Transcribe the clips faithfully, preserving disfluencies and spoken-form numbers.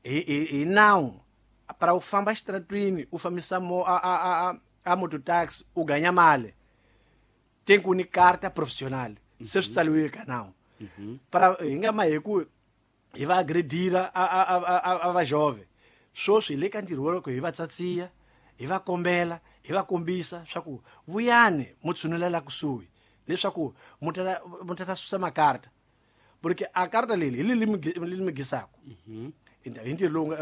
Hi hi hi nawu para u famba xitaratwini u fambisa mo a a a a mototaxi u ganya mali tem ku ni carta profissional se swi tsaliwile ka nawu. Para hi nga ma hi ku hi va agredira a a a a va jove sweswi hi le ka ntirho wa loko hi va tsatsiya hi va kombela hi va kombisa swa ku vuyani mo tshunelela kusuhi leswaku mu ta mu ta susa makarta porque a karta leli hi leli mi gisaka hi ntirho lowu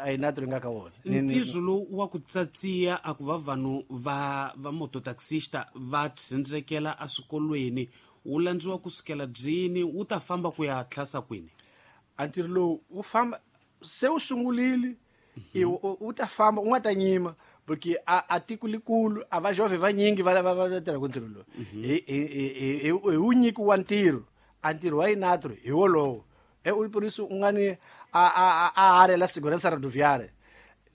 a hi natro nga ka wona. Ntirho lowu wa ku tsatsiya a ku va vanhu va va mototaxista va tsindzekela eswikolweni wu landziwa kusukela byini wu ta famba ku ya tlhasa kwini? A ntirho lowu wu famba se wu sungulile u ta famba u nga ta nyima porque a a tiko likulu a va jove vanyingi va va va tirha ku ntirho lowu hi hi hi wu nyikiwa ntirho a ntirho wa inatro hi wolowo e u polisi u nga ni a a a área la segurança rodoviária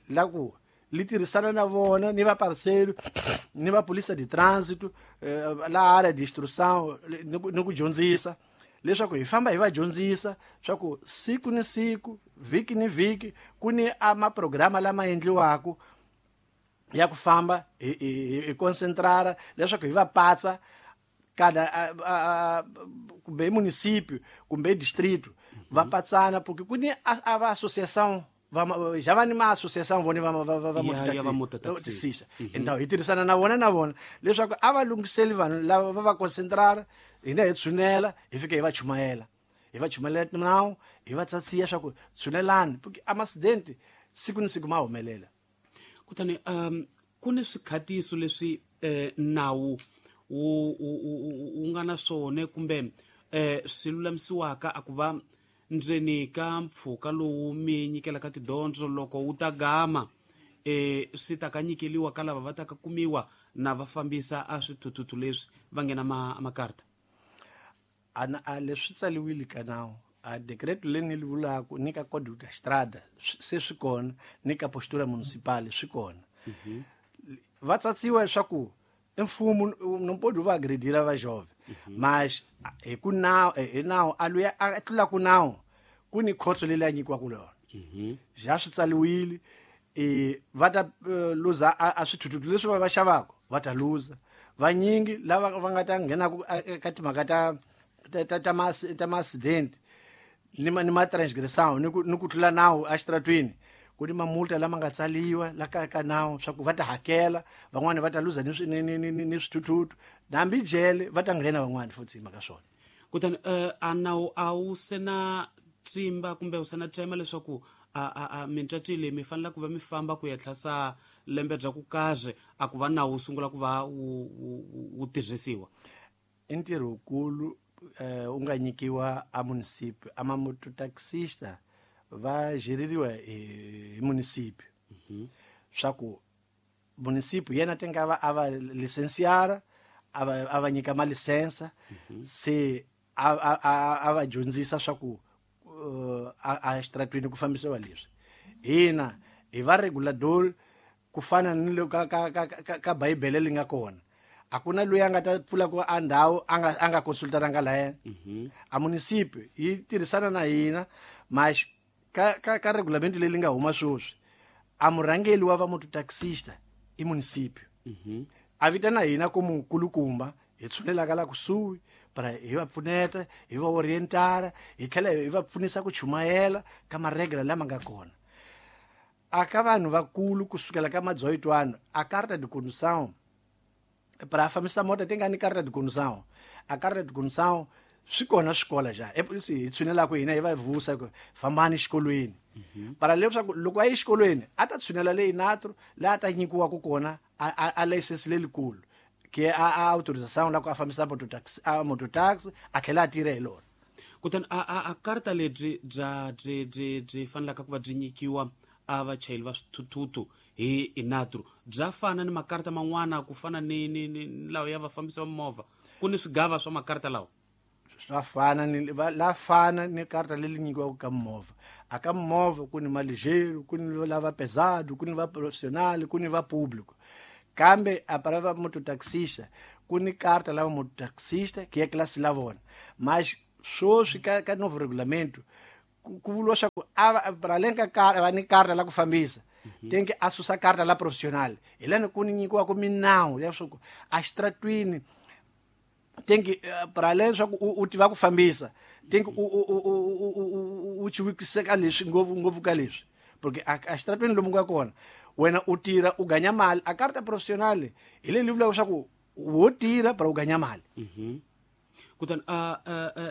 la ku li tirhisana na vona ni va parceiro ni va polícia de trânsito la área de instrução ni ku dyondzisa leswaku hi famba hi va dyondzisa swa ku siku ni siku vhiki ni vhiki ku ni a maprograma lama endliwaka ya ku famba hi hi concentrara leswaku hi va patsa kada kumbe hi município kumbe distrito va patsana porque ku ni a va associação va já va ni ma associação vona va va va va mototaxista então hi tirhisana na vona na vona leswaku a va lunghiseli vanhu lava va va concentrara hina hi tshunela hi fika hi va chumayela hi va chumayela nawu hi va tsatsiya swa ku tshunelani porque a accident siku ni siku ma humelela. Kutani um ku ni swikhatiso leswi eh, nawu wu wu nga na swona kumbe eh swi lulamisiwaka a ku va ndzeni ka mpfhuka lowu mi nyikelaka tidyondzo loko wu ta gama eh swi ta ka nyikeliwa ka lava va ta ka kumiwa na va fambisa a swithuthuthu leswi va nghena ma makarta? Ana a leswi tsaliwile ka nawu a decreto leyi ni li vulaka ni ka código da estrada se swi kona ni ka postura municipal swi kona. Va tsatsiwa leswaku mfumo não pode va agredir va jovem mas hi ku nawu hi nawu a luya a tlula ku nawu ku ni khotso leyi a nyikiwaka lona ja swi tsaliwile e va ta luza a swithuthuthu leswi va va xavaka va ta luza vanyingi lava va nga ta nghena ka timhaka ta ta ta ma ta ma accident ni ma ni ma transgressão ni ku ni ku tlula nawu exitratwini ku ni mamulta lama nga tsaliwa la ka ka nawu swa ku va ta hakela van'wani va ta luza ni ni ni ni swithuthuthu hambi jele va ta nghena van'wani futhi hi mhaka swona. Kutani a nawu a wu se na tsimba kumbe wu se na tsema leswaku a a a mintswatsi leyi mi fanele ku va mi famba ku ya tlhasa lembe bya ku kaze a ku va nawu wu sungula ku va wu wu tirhisiwa? I ntirho wukulu u nga nyikiwa a município a mamototaxista va geririwa hi município swa ku município yena ti nga va a va licenciara a va a va nyika malisensa se a a a va dyondzisa swa ku a exitratwini ku fambisiwa leswi hina hi va regulador ku fana ni le ka ka ka ka bibele li nga kona a ku na loyi a nga ta pfula ku a ndhawu a nga a nga consultaranga la yena. A município yi tirhisana na hina mas ka ka ka regulamento leyi nga huma sweswi a murhangeli wa va mototaxista i município a vitana hina ku mukulukumba hi tshunelaka la kusuhi para hi va pfuneta hi va orientara hi tlhela hi va pfunisa ku chumayela ka maregla lama nga kona a ka vanhu vakulu kusukela ka madzoyitwana a carta de condução para fambisa mota ti nga ni carta de condução a carta de condução swi kona swikola ja e hi tshunelaka hina hi va vusa ku fambani xikolweni para leswaku loko a yi xikolweni a ta tshunela le inatro laha a ta nyikiwaka kona a a license lelikulu ke a a autorização la ku a fambisa mototaxi a mototaxi a tlhela a tirha hi lona. Kutani a a a karta lebyi bya byi byi byi fanelaka ku va byi nyikiwa a vachayeri va swithuthuthu hi inatro bya fana ni makarta man'wana ku fana ni ni ni lawa ya vafambisi va movha ku ni swigava swa makarta lawa? Swa fana ni la fana ni karta leri nyikiwaka ka movha a ka movha ku ni maligero ku ni lava pesado ku ni va profissional ku ni va público kambe a para va mototaxista ku ni karta lava mototaxista que é classe la vona mas sweswi ka ka novo regulamento ku vuriwa swa ku a para ka karta va ni karta la ku fambisa tenke a susa karta la professional hi lani ku ni nyikiwa ku minawu ya swa ku a xitratwini tenke para swa ku u tiva ku fambisa tenke u u u u chiwikiseka leswi ngopfu ngopfu ka leswi porque a xitratwini lomu nga kona wena u tirha u ganya mali a karta professional hi leyi vulaka swa ku wo tirha para u ganya mali. Kutani a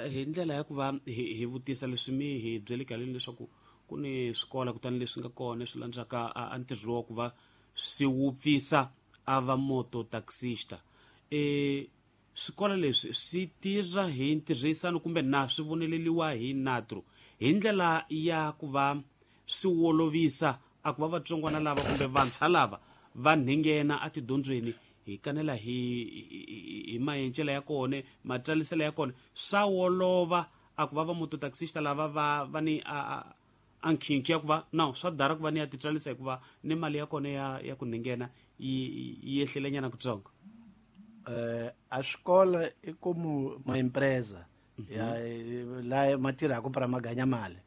hi ndlela ya ku va hi vutisa leswi mi hi byele kaleni leswaku ku ni swikola kutani leswi nga kona swi landzaka a ntirho wa ku va swi wupfisa a va moto taxista e swikola leswi swi tirha hi ntirhisano kumbe na swi voneleliwa hi natro hi ndlela ya ku va swi wolovisa a ku va vatsongwana lava kumbe vantshwa lava va nghena etidyondzweni hi kanela hi hi maencela ya kona matsaliselo ya kona swa wolova a ku va va moto taxista lava va va ni a a nkhinkhi ya ku va no swa dara ku va ni ya titsarisa hikuva ni mali ya kona ya ya ku nghena yi yi ehlelenyana kutsongo. Eh a xikola i como uma empresa ya la ma tirhaka para maganya mali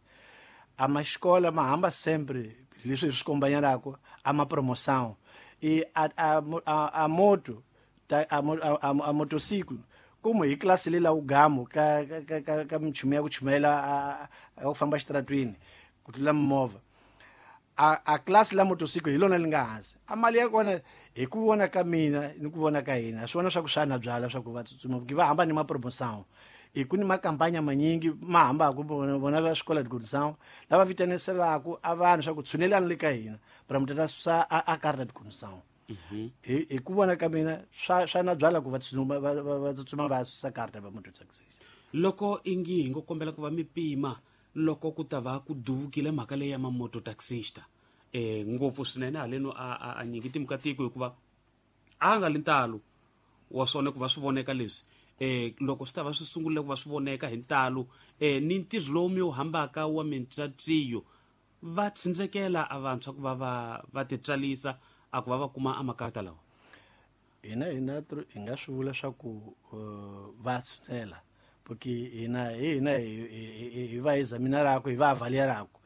a ma xikola ma hamba sempre leswi swi kombanyelaka a ma promoção e a a a, a moto a a, a motociclo como hi classe lela u gamo ka ka ka, ka michumu ya ku chumela a, a ku famba xitratwini ku tlula movha a a classe la motociclo hi lona li nga hansi a mali ya kona hi ku vona ka mina ni ku vona ka hina swi vona swa ku swa na byala swa ku va tsutsuma ku va hamba ni ma promoção e ku ni makampanya manyingi ma hambaka vona vona va swikola de lava vitaniselaka a vanhu swa ku tshunelana le ka hina para mi tata susa a carta de condução. Hi hi ku vona ka mina swa swa na byala ku va tsutsuma va tsutsuma va susa carta va mototaxista. Loko ingi hi ngo kombela ku va mi pima loko ku ta va ku duvukile mhaka leyi ya mamototaxista eh ngopfu swinene haleno a a nyingi timhaka tiko hikuva a nga li ntalo wa swona ku va swi voneka leswi eh loko swi ta va swi sungurile ku va swi voneka hi ntalo eh ni ntirho lowu mi wu hambaka wa mintsatsiyo va tsindzekela a vantshwa ku va va va titsarisa a ku va va kuma a makarata lawa. Hina hina hi nga swi vula swa ku va tshunela porque hina hina hi va examinarako hi va avaliarako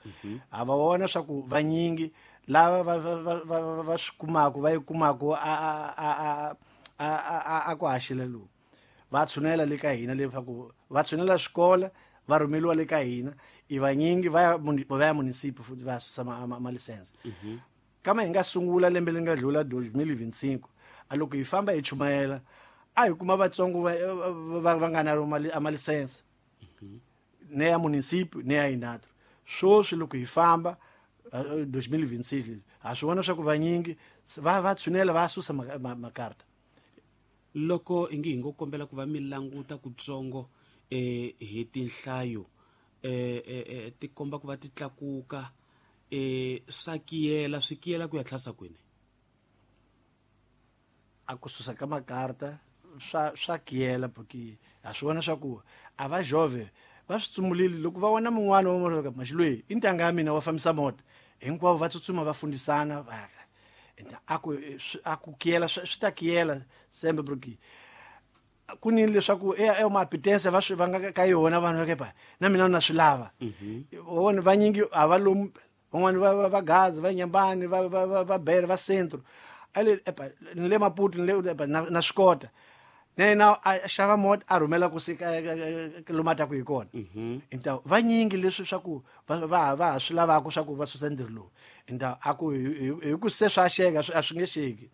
a va vona swa ku vanyingi lava va va va swi kumaka va yi kumaka a a a a a ku haxela lowu va tshunela le ka hina leswaku va tshunela swikola va rhumeliwa le ka hina i vanyingi va ya va ya municipio futhi va susa ma license. Kama hi nga sungula lembe leri nga dlula dois mil e vinte e cinco a loko hi famba hi chumayela a hi kuma vatsongo va va nga na a ma license ne ya municipio ne ya inatro. Sweswi loko hi famba dois mil e vinte e seis ha swi vona swa ku vanyingi va va tshunela va susa makarta. Loko ingi hi ngo kombela ku va mi languta kutsongo eh hi tinhlayo eh eh ti komba ku va ti tlakuka eh swa kiyela swi kiyela ku ya tlhasa kwini a ku susa ka makarta swa swa kiyela porque ha swi vona swa ku a va jove va swi tsumulile loko va vona mun'wana wa moroka maxilwe i ntanga ya mina wa fambisa mota hinkwavo va tsutsuma va fundisana va a ku a ku kiyela swi ta kiyela sembe porque ku ni leswaku e e mapitense va swi va nga ka yona vanhu va kepa na mina na swi lava vona vanyingi a va lomu van'wani va va Gaza va Nyambani va va va Bere va Centro ale epa ni le Maputo ni le epa na swi kota na yena a xava mota a rhumela ku sika lomu a taku hi kona. Então vanyingi leswi swa ku va va va swi lavaka swa ku va susa ntirho lowu então a ku hi ku se swa xeka a swi nge xeki.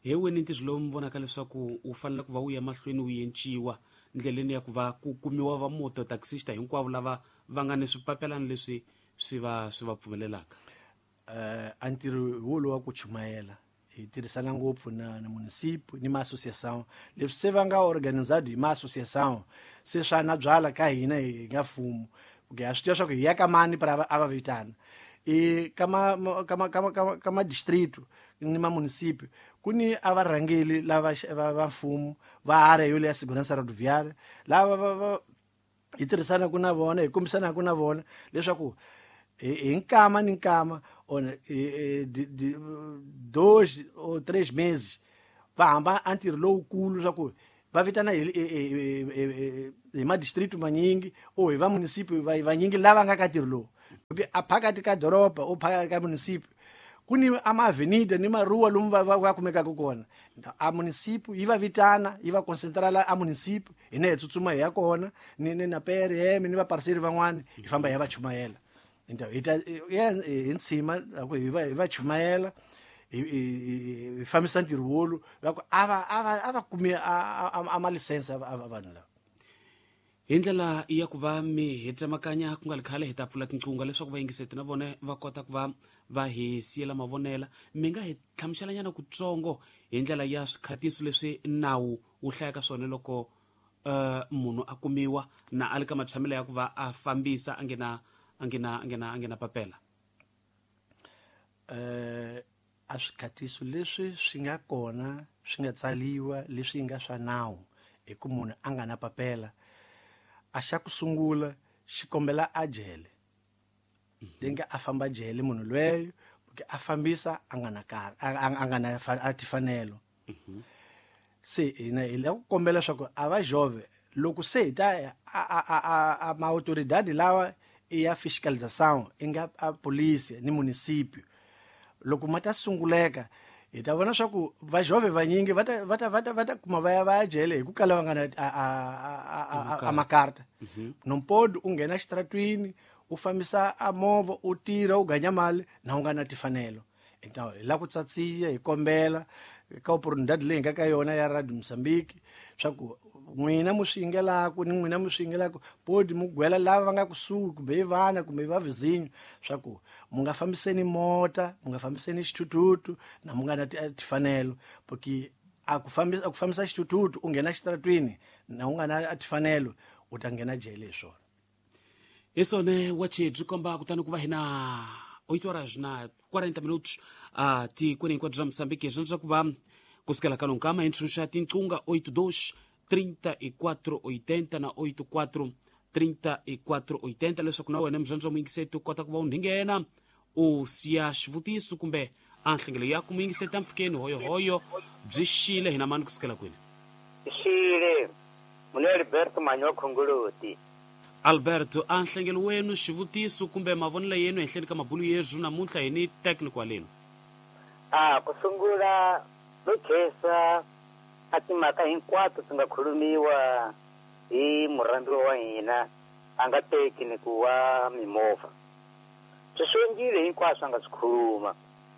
Hi wena ntirho lowu mi vonaka leswaku wu fanele ku va wu ya mahlweni wu yenciwa ndleleni ya ku va ku kumiwa va moto taxista hinkwavo lava va nga ni swipapelana leswi swi va swi va pfumelelaka. Eh a ntirho wolowo wa ku chumayela hi tirhisana ngopfu na na municipio ni ma associação leswi se va nga organizado hi ma associação se swa na byala ka hina hi nga mfumo porque a swi tiva swa ku hi ya ka mani para a va vitana e kama kama kama kama distrito ni ma municipio ku ni a varhangeli lava va mfumo va area yo leya segurança rodoviária lava va hi tirhisana ku na vona hi kombisana ku na vona leswaku hi nkama ni nkama ona dois ou três meses va hamba a ntirho lowukulu swa ku Va vitana hi hi hi ma district manyingi o hi va municipio va vanyingi lava nga ka ntirho lowu. A phakathi ka doroba o phakathi ka municipio ku ni ama avenida ni maruwa lomu va va kumekaka kona. A municipio yi va vitana yi va concentrala a municipio hina hi tsutsuma hi ya kona ni ni na P R M ni va parceri van'wana hi famba hi ya va chumayela. Então hi ta hi ntshima ku hi va hi va chumayela hi fambisa ntirho wolu va ku a va a va a va kumi a ma license a vanhu lava. Hi ndlela ya ku va mi hi tsemakanya ku nga ri khale hi ta pfula tinqingho leswaku vayingiseti na vona va kota ku va va hi siyela mavonela. Mi nga hi hlamuselanyana kutsongo hi ndlela ya swikhatiso leswi nawu wu hlayaka swona loko uh, munhu a kumiwa na a le ka matshamelo ya ku va a fambisa a ngena a ngena a ngena a ngena papela. Eh a swikhatiso leswi swi nga kona swi nga tsaliwa leswi nga swa nawu hi ku munhu a nga na papela a xa ku sungula xi kombela a jele. Lenga a famba jele munhu lweyo porque a fambisa a nga na kar a nga na a tifanelo. Se hina hi la ku kombela swa ku a va jove loko se hi ta a a a ma autoridade lawa i ya fiscalização i nga a polícia ni município loko ma ta sunguleka hi ta vona swa ku va jove vanyingi va ta va ta va ta va ta kuma va ya va ya jele hi ku kala va nga na a a a a makarta. Non pode u nghena xitaratwini u fambisa a movha u tirha u ganya mali na u nga na tifanelo. Então hi la ku tsatsiya hi kombela ka oportunidade leyi nga ka yona ya Radio Mozambique swa ku n'wina mu swi yingelaku ni n'wina mu swi yingelaku podi mu gwela lava va nga kusuhi kumbe i vana kumbe va vizinyo swa ku mu nga fambiseni mota mu nga fambiseni xithuthuthu na mu nga na tifanelo porque a ku fambisa a ku fambisa xithuthuthu u nghena xitaratwini na u nga na tifanelo u ta nghena jele hi swona. Hi swona wache byi komba kutani ku va hina oito horas na quarenta minutos a tikweni hinkwabyo bya Mozambique swi swa ku va kusukela ka lonkama hi ntshunxa tinqunga oito dois trinta e quatro oitenta na oito quatro trinta e quatro oitenta leswaku na wena muzvandzwa muyingiseti u kota ku va u nghena u siya xivutiso kumbe a nhlengelo ya ku muyingiseti mpfhukeni hoyohoyo byi xile hina mani kusukela kwini. Xile mune Alberto Manyo Khongoloti. Alberto a nhlengelo wenu xivutiso kumbe mavonelo yenu ehenhleni ka mabulu yezu namuntlha hi ni technical walenu. A ku sungula no khesa a timhaka hinkwato ti nga khulumiwa hi murhandziwa wa hina a nga teki ni ku wa mimovha. Swi swengile hinkwaswo a nga swi khuluma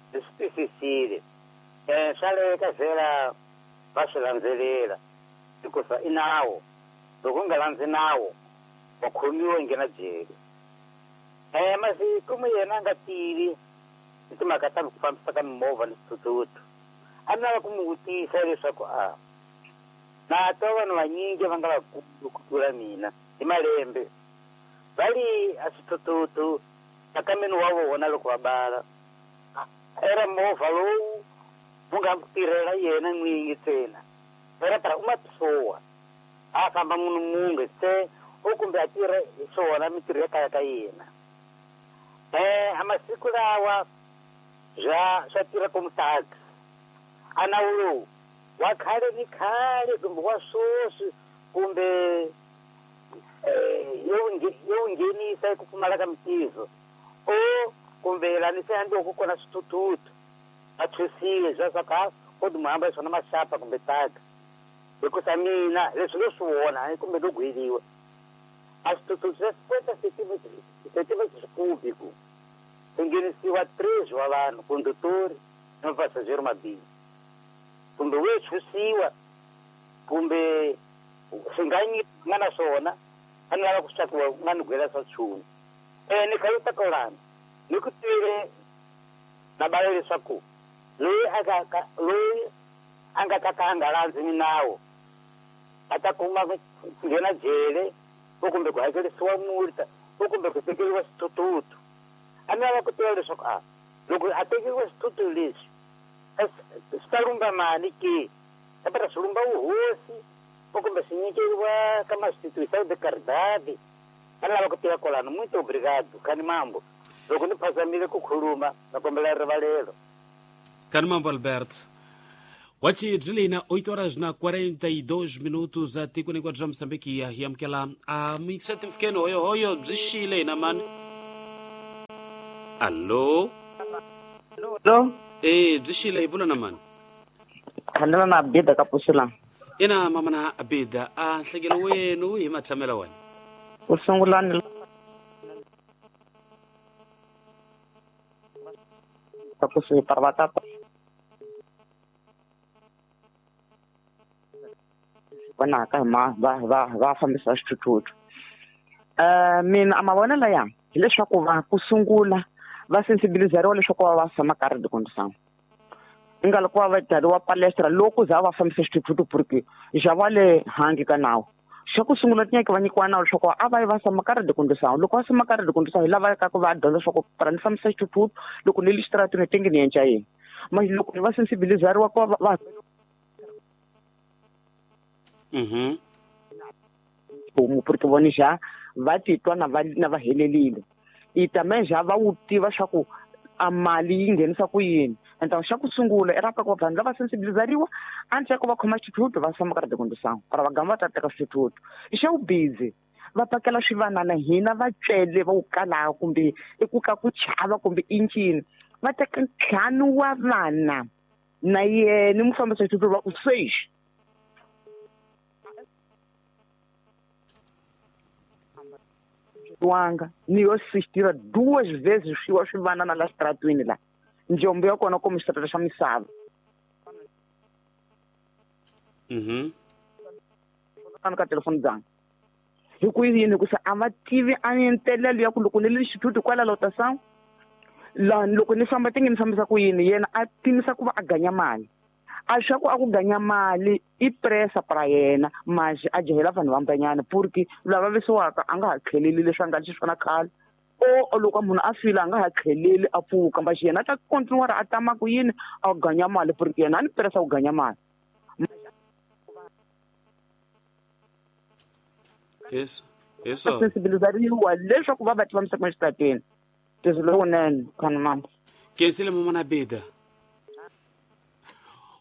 ndzi swi twisisile. um swa leka vhela va swi landzelela hikusa i nawu loko u nga landzi nawu wa khomiwa nghena jele. um masiku mu yena a nga tivi hi timhaka ta ku fambisa ka mimovha ni swithuthuthu. A ni lava ku mu vutisa leswaku a na twa vanhu vanyingi va nga vakulu ku tlula mina hi malembe va li a swithuthuthu nkameni wa vona loko va bala era movha lowu wu nga tirhela yena n'winyi ntsena era para uma pessoa a famba munhu munge se o kumbe a tirha hi swona mintirho ya kaya ka yena. Um a masiku lawa swa swa tirha como taxi. A nawu lowu wa khale ni khale kumbe wa sweswi kumbe yo yo nghenisa ku pfumala ka mintirho o kumbe lani se andloko kona swithuthuthu va thwisiwe swa swa ka ko ti muhamba hi swona maxapa kumbe taxi hikusa mina leswi no swi vona kumbe no gweliwa a swithuthuthu swa cinquenta centímetros cúbico swi nghenisiwa três wa vanhu condutor na passageiro mabili kumbe wo chusiwa kumbe swi nga nga na swona a ni lava ku swa ku nga ni gwela swa nchumu. Um ni kha ta kolana ni ku twile na bala leswaku loyi a ka loyi a nga ta ka a nga landzi minawu a ta kuma ku nghena jele o kumbe ku hakerisiwa multa o kumbe ku tekeriwa swithuthuthu. A ni lava ku tiva leswaku a loko a tekeriwa swithuthuthu leswi swi ta lumba mali ke kambe swi lumba vuhosi o kumbe swi nyikeriwa ka ma instituição de caridade. A ni lava ku tiva kwalano. Muito obrigado khani mambo loko ni phazamile ku khuluma na kombela rivalelo. Kani mambo Alberto. Wachi byi oito horas na quarenta e dois minutos a tikweni hinkwaro bya Mozambique ya hi amukela a mixete mfikeni hoyo hoyo byi xile hina mani. Allo. Allo. Eh byi xile hi bula na mani? Khandela na Abida ka Pusula. Ina mama na Abida a nhlekelo wenu hi matshamela wena. Ku sungula ni ka ku swi para va vonaka hi ma va va va fambisa xithuthuthu. Eh mina a mavonelo ya hileswaku va ku sungula va sensibilizeriwa leswaku va va tshama karhi de condição. Nga loko va byariwa palestra loko za va fambisa xithuthuthu porque já va le hangi ka nawu. Xa ku sungula tinyaka va nyikiwa nawu leswaku a va yi va tshama karhi de condição. Loko va tshama karhi de condição hi lava ka ku va dyondza leswaku para ni fambisa xithuthuthu loko ni le xitaratini tingi ni endla yini. Mas loko va sensibilizeriwa ku va Mhm. Como porque vona já va titwa na va na va helelile. E também já va wu tiva swa ku a mali yi nghenisa ku yini. Então xa ku sungula era ka ku vanhu lava sensibilizeriwa antes ku va khoma xithuthuthu va tshama karhi de condição para va gamba va ta teka xithuthuthu. Xa wu busy va pakela swivanana hina va cele va wu kala kumbe i ku ka ku chava kumbe injini va teka ntlhanu wa vana na yena mufambisi wa xithuthuthu va ku seis. Wanga ni yo assistira duas vezes swi swivanana la xitaratwini la njombo ya kona como xitarata xa misava. Mhm. Ka telefoni dzanga hi ku yini ku se a va tivi a entelelo ya ku loko ni le xithuthuthu kwala lotação la loko ni famba tingi ni fambisa ku yini yena a timisa ku va a ganya mali. A swa ku a ku ganya mali i pressa para yena mas a jahela vanhu vambanyana porque lava vavisiwaka a nga ha tlheleli leswi a nga xiswona khale o loko munhu a fila a nga ha tlheleli a pfuka mas yena a ta continuar a tama ku yini a ganya mali porque yena a ni pressa ku ganya mali. Yes. Yes. Sensibilizariwa leswaku va va tiva misava exitarateni. Leswi lowunene khana mama. Kensile mama na Bida.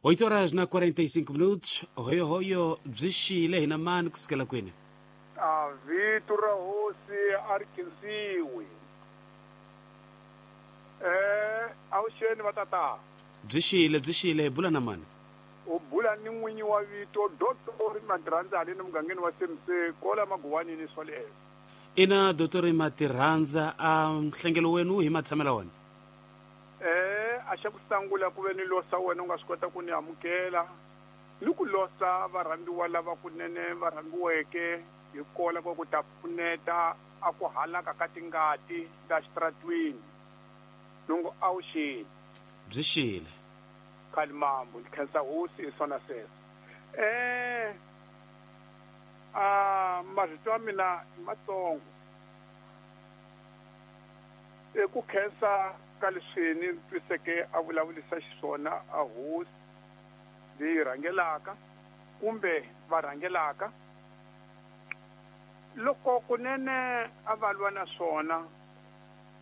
oito horas na quarenta e cinco minutos. Hoyo hoyo byi xile hina mani kusukela kwini? A vito ra hosi a ri khensiwi. Eh avuxeni va tata. Byi xile byi xile hi bula na mani? U bula ni n'winyi wa vito Doctor Matirhandza haleni mugangeni wa C M C kola Maguwanini swoleswo. Ina Doctor Matirhandza a nhlengelo wenu hi matshamela wena. Eh a xa ku sungula ku ve ni losa wena u nga swi kota ku ni amukela ni ku losa varhambiwa lava kunene va rhambiweke hi kola ku ku ta pfuneta a ku halaka ka tingati ta xitaratwini nungu avuxeni. Byi xile. Khalimambo ni khensa hosi hi swona sweswo. Eh a marito ya mina i matsongo i ku khensa ka leswi ni twiseke a vulavurisa xiswona a hosi leyi rhangelaka kumbe va rhangelaka loko kunene a va lwa na swona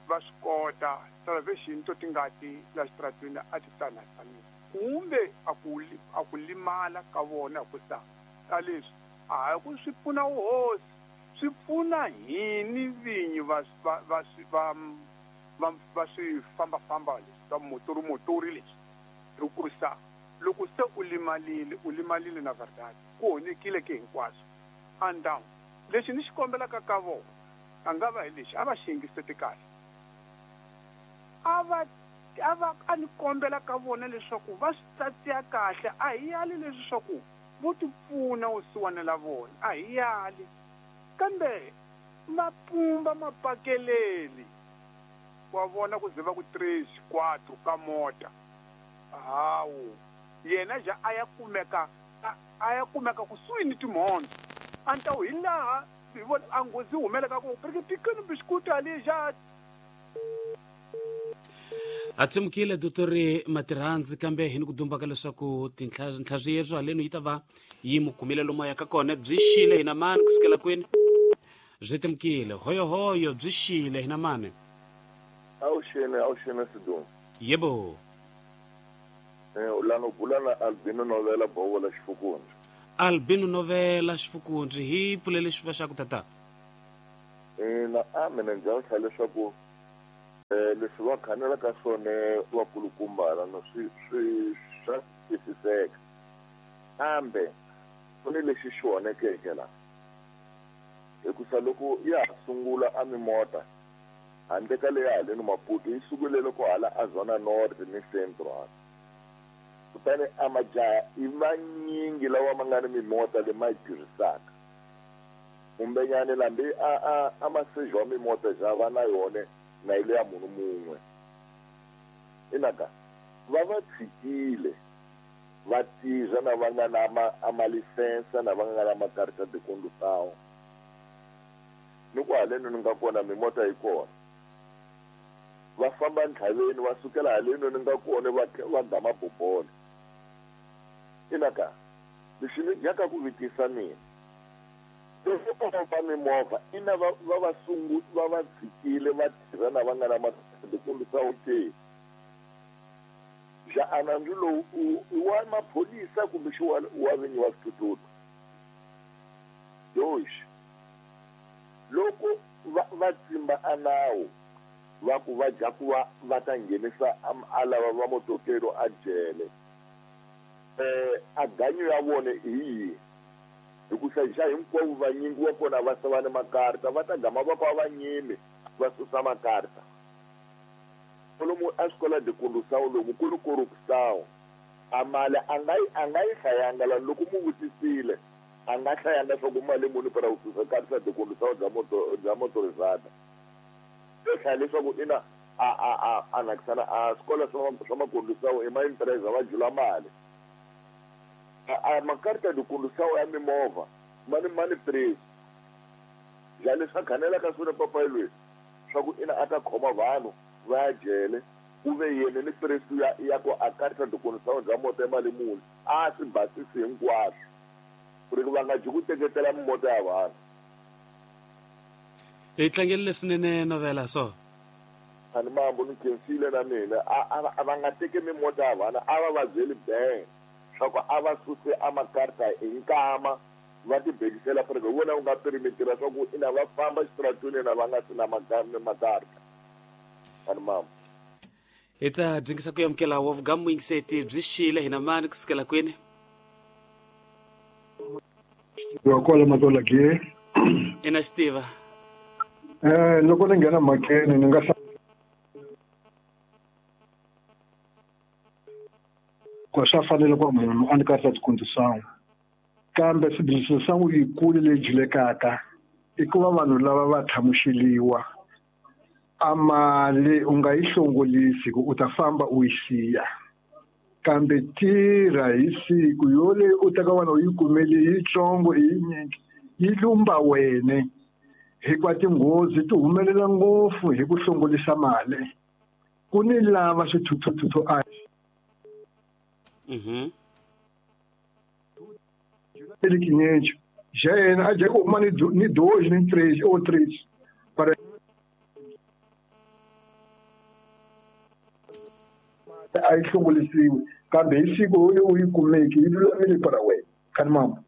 va swi kota salvation to tingati la xitaratwini a ti tsanatsanile kumbe a ku a ku limala ka vona ku sa ka leswi a ku swi pfuna hosi swi pfuna hini vinyi va va va va va va swi fambafamba leswi swa motori motori leswi hikusa loko se u limalile u limalile na verdade ku honekile ke hinkwaswo and down lexi ni xi kombelaka ka vona a nga va hi lexi a va xi yingiseti kahle a va a va a ni kombela ka vona leswaku va swi tsatsiya kahle a hi yali leswi swa ku vo ti pfuna vusiwana la vona a hi yali kambe mapumba mapakeleli wa vona ku ze va ku três quatro ka mota hawu yena ja a ya kumeka a ya kumeka kusuhi ni timhondzo a ni ta hi laha hi vona a nghozi humeleka ku porque pequeno biscuito ali já A tsemukile Doctor Matirhandzi kambe hi ni ku dumbaka leswaku tinhla haleno yi ta va yi mu kumile lomu ya ka kona byi xile hina mani kusukela kwini byi temukile hoyohoyo byi xile hina mani. Avuxeni avuxeni Sidumo. Yebo. Eh ulano bula na Albino Novela Bovola Xifukundzi. Albino Novela Xifukundzi hi pfulele xifuva xa ku tata. Eh na a mina ndzi tlhela leswaku eh leswi va khanela ka swona vakulukumba no swi swi swa twisiseka. Kambe ku ni lexi xi onhekeke la. Hikusa loko ya sungula a mimota handle ka leya haleni Maputo yi sungule loko hala a Zona North ni Central. Kutani a majaha i manyingi lawa ma nga ni mimota leyi ma yi tirhisaka. Kumbenyani lambi a a a masejo wa mimota ja va na yona na ile ya munhu mun'we. Inaka va va tshikile va tirha na va nga na ma a malisensa na va nga na makarita de condução. Ni ku haleni ni nga kona mimota yi kona. Va famba ntlhaveni va sukela haleni ni nga kona va va gama bobolo. Inaka lexi ni yaka ku vitisa mina. Loko va mimovha ina va va va sungu va va tshikile va tirha na va nga na makarita de condução ke. Ja anandzu lowu i wa maphorisa kumbe xi wa wa vinyi wa swithuthuthu. Dois. Loko va va tsimba a nawu va ku va dya ku va va ta nghenisa a lava va motokelo a jele. Eh a ganyo ya vona hi yihi? Hikusa xa hinkwavo vanyingi wa kona va sava ni makarta va ta gama va va vanyimi va susa makarta. Lomu a escola de condução lomu ku ni corrupção. A mali a nga yi a nga yi hlayanga la loko mu vutisile a nga hlayanga swa ku mali muni para ku susa karta de condução bya moto bya motorizada. Yo hlaya leswaku ina a a a a nakisana a escola swa swa macondução i ma empresa va jula mali. A a makarta de condução ya mimovha ma ni ma ni preço. Ja leswi a khanelaka swona papayi loyi swa ku ina a ta khoma vanhu va ya jele ku ve yena ni preço ya ya ku a karta de condução bya moto ya mali muni a swi basisi hinkwaswo ku ri va nga dyi ku teketela mimoto ya vanhu. Hi tlangele swinene Novela so. Ani mambo ni khensile na mina a a va nga teki mimoto ya vanhu a va va byeli bang swa ku a va suse a makarta hi nkama va ti bekisela ku ri vona u nga perimetera swa ku ina va famba xitaratweni na va nga si na makarta. Ani mambo. Hi ta dzingisa ku amukela wa vugamu yingiseti byi xile hina mani kusukela kwini? Wa kwala Matola ke. Ina xitiva. Eh loko ni nghena mhakeni ni nga ku swa fanele ku munhu a ni karhi a condução. Kambe sibili sangu yikulu leyi julekaka i ku va vanhu lava va thamuxeliwa. A mali u nga yi hlongolisi ku u ta famba u yi siya. Kambe tirha hi siku yoleyi u teka wena u yi kumele yitsongo i yinyingi yi lumba wene hikuva tinghozi ti humelela ngopfu hi ku hlongolisa mali. Ku ni lava swithuthuthu a Mhm. Ele já é, já uma ni dois, nem três, ou três. Para a yi hlongolisiwe kambe hi siku u yi kumeki yi lulamile para wena khani mama.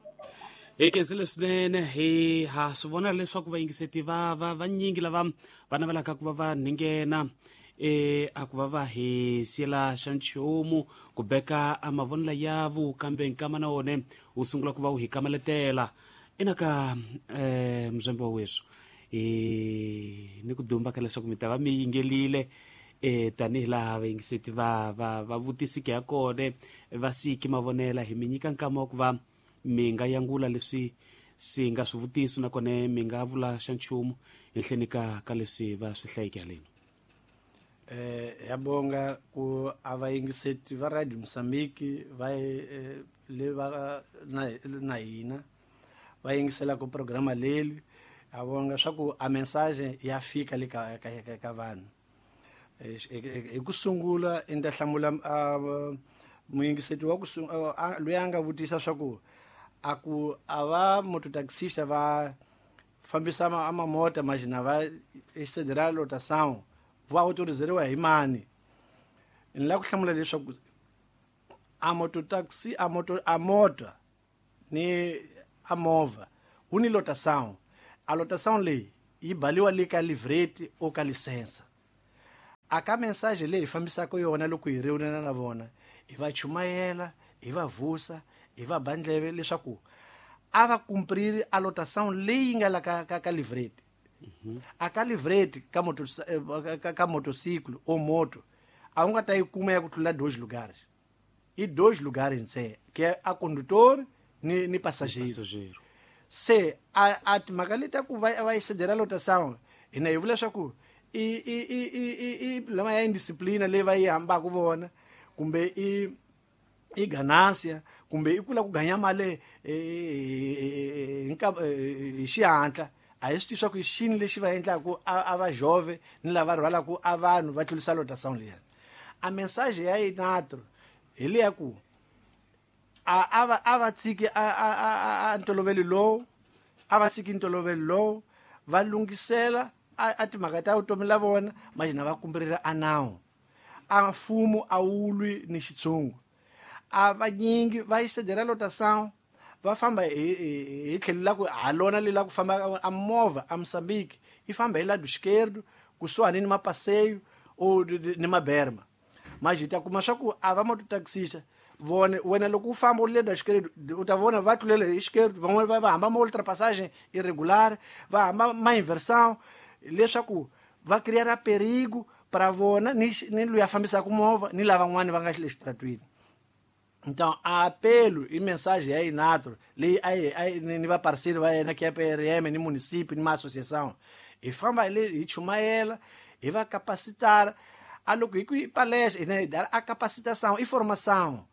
Hi khensile swinene hi ha swi vona leswaku vayingiseti va va vanyingi lava va navelaka ku va va nghena eh a ku va va hi siyela xa nchumu ku beka a mavonelo yavo kambe nkama na wona wu sungula ku va wu hi kamaletela ina ka eh mzwembe wa weswo eh ni ku dumba ka leswaku mi ta va mi yingelile eh tanihi laha vayingiseti va va va vutisike ya kona va siki mavonela hi mi nyika nkama wa ku va mi nga yangula leswi swi nga swivutiso nakona mi nga vula xa nchumu henhleni ka ka leswi va swi hlayeke haleni. Eh yabonga ku abayingiseti va Radio Mozambique va le va na na hina va yingisela ku programa leli abonga swa ku a message ya fika le ka ka ka vanhu. Hi ku sungula i nda hlamula muyingiseti wa ku loyi a nga vutisa swa ku a ku a va mototaxista va fambisa a mamota majina va excederá lotação va autorizeriwa hi mani. Ni lava ku hlamula leswaku A mototaxi a moto a moto ni a movha wu ni lotação. A lotação leyi yi baliwa le ka livreti o ka licença. A ka mensagem leyi hi fambisaka yona loko hi reunana na vona hi va chumayela, hi va vusa, hi va ba ndleve leswaku a va cumpriri a lotação leyi nga la ka ka, ka livreti. A ka livreti ka moto ka, ka motociclo ou moto a wu nga ta yi kuma ya ku tlula dois lugares. I dois lugares ntsena, que é a condutor ni ni passageiro. Passageiro. Se a a timhaka leti ta ku va va yi cedera lotação hina hi vula leswaku i i i i i i lama ya indisciplina leyi va yi hambaka vona kumbe i i ganância kumbe i ku lava ku ganya mali hi hi xihatla. A hi swi tivi swa ku i xini lexi va endlaku a a va jove ni lava rhwalaka a vanhu va tlurisa lotação liya. A mensagem ya inatro hi leya ku a a va a va tshiki a a a a ntolovelo lowu, a va tshiki ntolovelo lowu, va lunghisela a a timhaka ta vutomi la vona majina va kumberela a nawu. A mfumo a wu lwi ni xitshungu. A vanyingi va yi cedera lotação va famba hi hi hi tlhelo la ku ha lona le la ku famba a movha a Moçambique yi famba hi lado esquerdo kusuhani ni mapasseio ou ni maberma. Mas hi ta kuma swa ku a va mototaxista vone wena loko u famba u le esquerdo u ta vona va tlulele hi esquerdo, van'wani va va hamba ma ultrapassagem irregular, va hamba ma inversão leswaku va criar perigo para vona ni ni loyi a fambisaka movha ni lavan'wani va nga le xitaratwini. Então a apelo e mensagem ya Inatro leyi a yi a yi ni va parceiro va yena que é P R M ni município ni ma associação hi famba le hi chumayela hi va capacitar a loko hi ku hi palestra hina hi dala a capacitação i formação.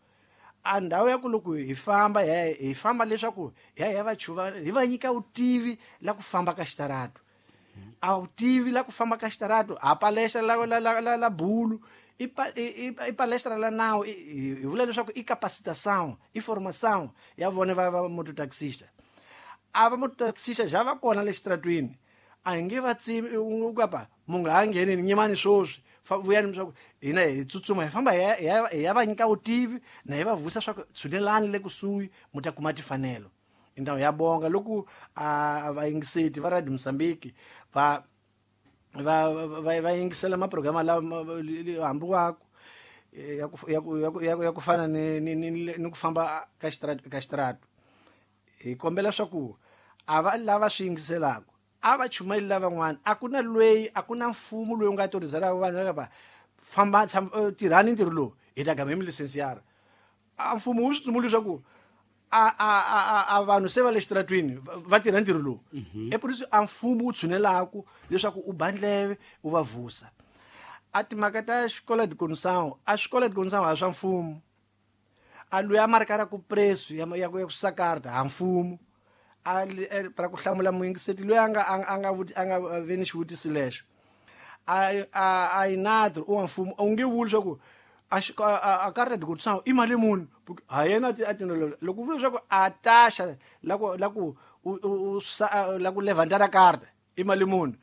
A ndhawu ya ku loko hi famba hi hi famba leswaku hi ya hi ya va chuva hi va nyika vutivi la ku famba ka xitarato. A vutivi la ku famba ka xitarato a palestra la la la la, la bulu i i i palestra la nawu hi vula leswaku i capacitação i formação ya vona va va mototaxista. A va mototaxista ja va kona le xitaratwini a hi nge va tsimi u kapa mu nga ha ngheni ni nyimani swoswi vuyani swa ku hina hi tsutsuma hi famba hi ya hi ya va nyika vutivi na hi va vusa swa ku tshunelani le kusuhi mu ta kuma timfanelo. Então ya bonga loko a vayingiseti va Radio Moçambique va va va va yingisela maprograma lama hambi waku ya ku ya ku ya ku ya ku fana ni ni ni ku famba ka xitaratu ka xitaratu. Hi kombela swa ku a va lava swi yingiselaka a va chumayeli lavan'wana. A ku na loyi a ku na mfumo loyi u nga autorizaka vanhu va famba tirhani ntirho lowu hi ta gama hi mi licenciar. A mfumo wu swi tsumuli leswaku a a a a vanhu se va le xitaratwini va tirha ntirho lowu. E por isso a mfumo wu tshunelaku leswaku u ba ndleve u va vusa. A timhaka ta xikola de condução, a xikola de condução a swa mfumo. A loyi a markaka preço ya ya ku sakarta ha mfumo. A para ku hlamula muyingiseti loyi a nga a nga a nga ve ni xivutiso lexo. A a a inatro u wa mfumo u nge vuli leswaku a a carta de condução i mali muni ha yena a tinolo loko u vula leswaku a taxa la ku la ku u la ku levantar a carta i mali muni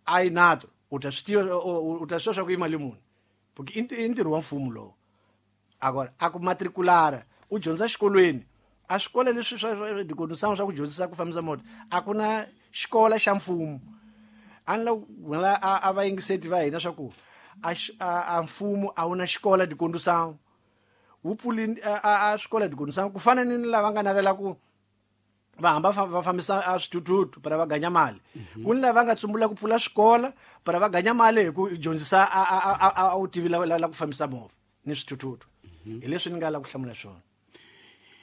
a inatro u ta swi tiva u ta swi tiva swa ku i mali muni porque i ntirho wa mfumo lowu. Agora a ku matriculara u dyondza xikolweni a swikolo leswi swa de condução swa ku dyondzisa ku fambisa movha a ku na xikolo xa mfumo. A ni la a va yingiseti va hina swa ku a a mfumo a wu na xikolo de condução wu pfuli a swikolo de condução ku fana ni lava nga navela ku va hamba va fambisa a swithuthuthu para va ganya mali. Ku ni lava nga tsumbula ku pfula swikolo para va ganya mali hi ku dyondzisa a a a u tivi la la ku fambisa movha ni swithuthuthu. Hi leswi ni nga la ku hlamula swona.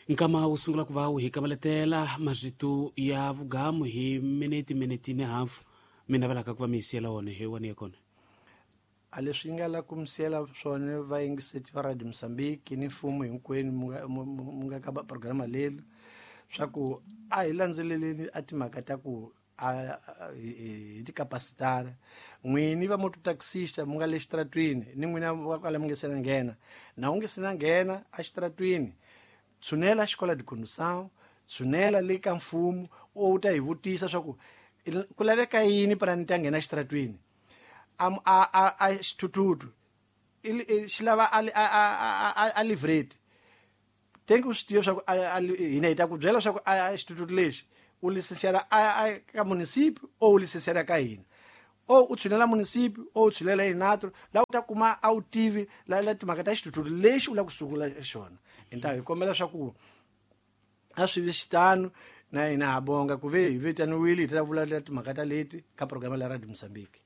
Nkama wu sungula ku va wu hi kavaletela mazito ya vugamu hi minete minete ni hafu mi navelaka ku va mi siyela wona hi wona ya kona. A leswi nga la ku mi siyela swona vayingiseti va Radio Moçambique ni mfumo hinkwenu mu nga ka programa leli swa ku a hi landzeleleni a timhaka ta ku a hi tikapasitara n'wini va mototaxista mu nga le xitaratwini ni n'wina va kwala mi nge se na nghena na u nge se na nghena a xitaratwini tshunela xikola de condução tshunela le ka mfumo u ta hi vutisa swa ku ku laveka yini para ni ta nghena xitaratwini. A a a xithuthuthu xi lava a a a livreti Tenki u swi tiva swa ku hina hi ta ku byela swa ku a xithuthuthu lexi u lisensiara a ka munisipi o u lisensiara ka hina o u tshunela munisipi o u tshunela inatro la u ta kuma a wu tivi la la timhaka ta xithuthuthu lexi u lava ku sungula xona. Hi hi kombela swa ku a swi vi xitano na hina ha bonga ku ve hi vitaniwile hi ta vulavula timhaka ta leti ka programa la Radio Mozambique.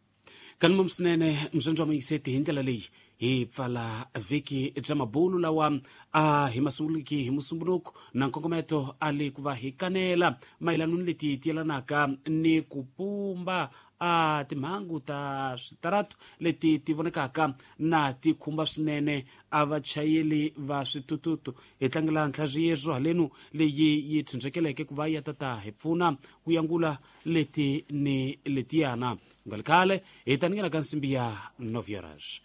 Kanuma swinene mzonzo wa muyingiseti hi ndlela leyi hi pfala vhiki bya mabulu lawa a hi masunguliki hi musumbunuko na nkongometo a le ku va hi kanela mayelano ni leti tiyelanaka ni ku pumba a timhangu ta switaratu leti ti vonekaka na ti khumba swinene a vachayeli va switututu. Hi tlangela nhlaziyezo halenu leyi yi tshunxekeleke ku va ya tata hi pfuna ku yangula leti ni letiyana. Nga ri khale hi ta nyikela ka nsimbi ya nove horas.